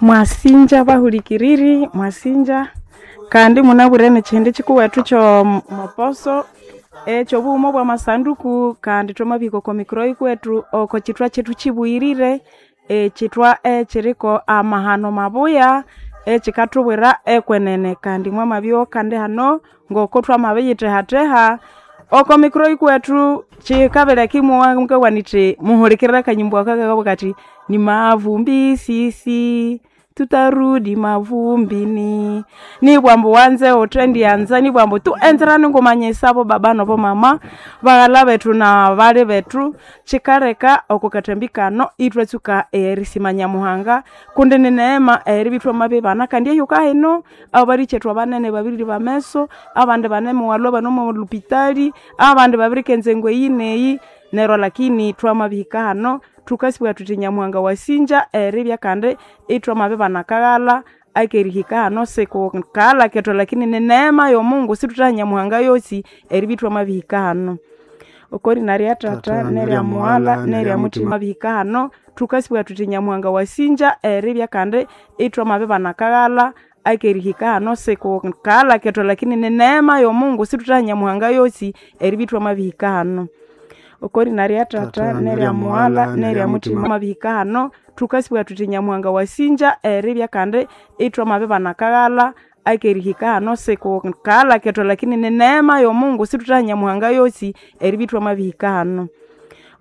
Mwasinja bahulikiriri, mwasinja kandi munabwire nekyindi kikuwethu kyomoposo ekyobughuma obwamasanduku kandi thwamabihika oko mikuro yikuwethu oko kyithwa kyethu kibuyirire ekyithwa ekyiriko amahano mabuya ekyikathubwira ekwenene kandi mwamabyowa kandi hano ngoko thwamabiyithehatheha oko mikuro yikuwethu kyikabileka imowa mukabugha nithi muhulikirire akanyimbu aka kakabugha kathi ni mavumbi sisi tutarudi mavumbini nibwambu wanze uthendyanza nibwambu tu enzerani ngumanyisabo baba nobo mama baghala bethu na bali bethu kyikaleka oko kathambi kano ithwatsuka erisima Nyamuhanga kundi ni neema eribya ithwamabibana kandi ehyuka hino abalikyethu abanene babirire ameso abandi banemuwalhwa bane omo lupitali abandi babirika enzengo eyi neyi neryo lakini thwamabihika hano thukasibugha thuthi Nyamuhanga wasinja eribya kandi ithwamabibana akaghalha akerihika hano sikukaghalha kethu lakini ni neema yomungu sithuthaha Nyamuhanga yosi eribya ithwamabihika hano okorina rya tata nerya mughalha nerya muthima bihika hano thukasibugha thuthi Nyamuhanga wasinja eribya kandi ithwamabibana akaghalha akerihika hano sikukaghalha kethu lakini ni neema yomungu sithuthaha Nyamuhanga yosi eribya ithwamabihika hano okorina rya tata nerya mughalha nerya muthima mabihika hano thukasibugha thuthi Nyamuhanga wasinja eribya kandi ithwamabibana akaghalha akerihika hano sikukaghalha kethu lakini ni neema yomungu sithuthaha Nyamuhanga yosi eribya ithwamabihika hano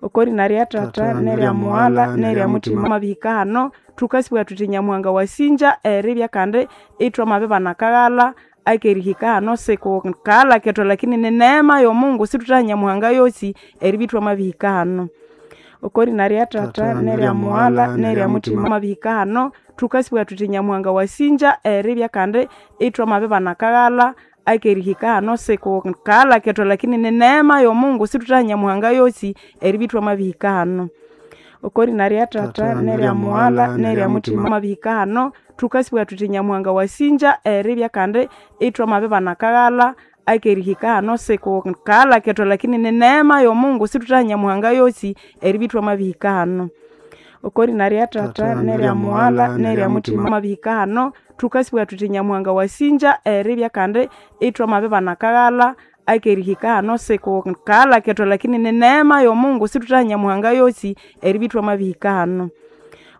okorina rya tata nerya mughalha nerya muthima mabihika hano thukasibugha thuthi Nyamuhanga wasinja eribya kandi ithwamabibana akaghalha akerihika hano sikukaghalha kethu lakini ni neema yomungu sithuthaha Nyamuhanga yosi eribya ithwamabihika hano okorina rya tata nerya mughalha nerya muthima mabihika hano thukasibugha thuthi Nyamuhanga wasinja eribya kandi ithwamabibana akaghalha akerihika hano sikukaghalha kethu lakini ni neema yomungu sithuthaha Nyamuhanga yosi eribya ithwamabihika hano okorina rya tata nerya mughalha nerya muthima mabihika hano thukasibugha thuthi Nyamuhanga wasinja eribya kandi ithwamabibana akaghalha akerihika hano sikukaghalha kethu lakini ni neema yomungu sithuthaha Nyamuhanga yosi eribya ithwamabihika hano okorina rya tata nerya mughalha nerya muthima mabihika hano thukasibugha thuthi Nyamuhanga wasinja eribya kandi ithwamabibana akaghalha akerihika hano sikukaghalha kethu lakini ni neema yomungu sithuthaha Nyamuhanga yosi eribya ithwamabihika hano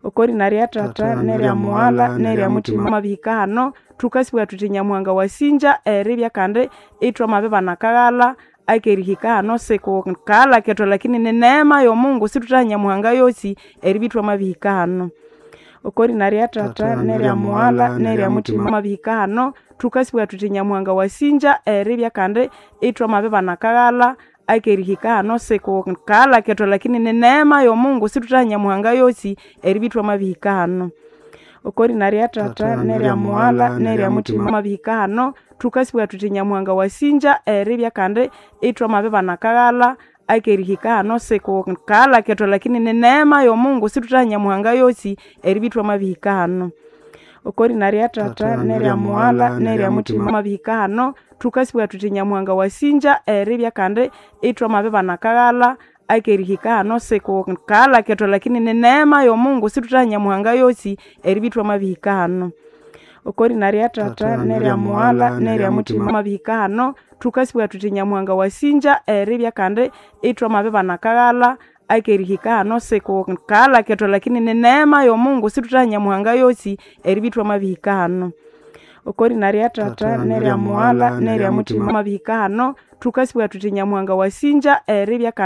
okorina rya tata nerya mughalha nerya muthima mabihika hano thukasibugha thuthi Nyamuhanga wasinja eribya kandi ithwamabibana akaghalha akerihika hano sikukaghalha kethu lakini ni neema yomungu sithuthaha Nyamuhanga yosi eribya ithwamabihika hano okorina rya tata nerya mughalha nerya muthima mabihika hano thukasibugha thuthi Nyamuhanga wasinja eribya kandi ithwamabibana akaghalha akerihika hano sikukaghalha kethu lakini ni neema yomungu sithuthaha Nyamuhanga yosi eribya ithwamabihika hano okorina rya tata nerya mughalha nerya muthima mabihika hano thukasibugha thuthi Nyamuhanga wasinja eribya kandi ithwamabibana akaghalha akerihika hano sikukaghalha kethu lakini ni neema yomungu sithuthaha Nyamuhanga yosi eribya ithwamabihika hano okorina rya tata nerya mughalha nerya muthima mabihika hano thukasibugha thuthi Nyamuhanga wasinja eribya kandi ithwamabibana akaghalha akerihika hano sikukaghalha kethu lakini ni neema yomungu sithuthaha Nyamuhanga yosi eribya ithwamabihika hano okorina rya tata nerya mughalha nerya muthima mabihika hano thukasibugha thuthi Nyamuhanga wasinja eribya kandi ithwamabibana akaghalha akerihika hano sikukaghalha kethu lakini ni neema yomungu sithuthaha Nyamuhanga yosi eribya ithwamabihika hano okorina rya tata nerya mughalha nerya muthima mabihika hano thukasibugha thuthi Nyamuhanga wasinja eribya.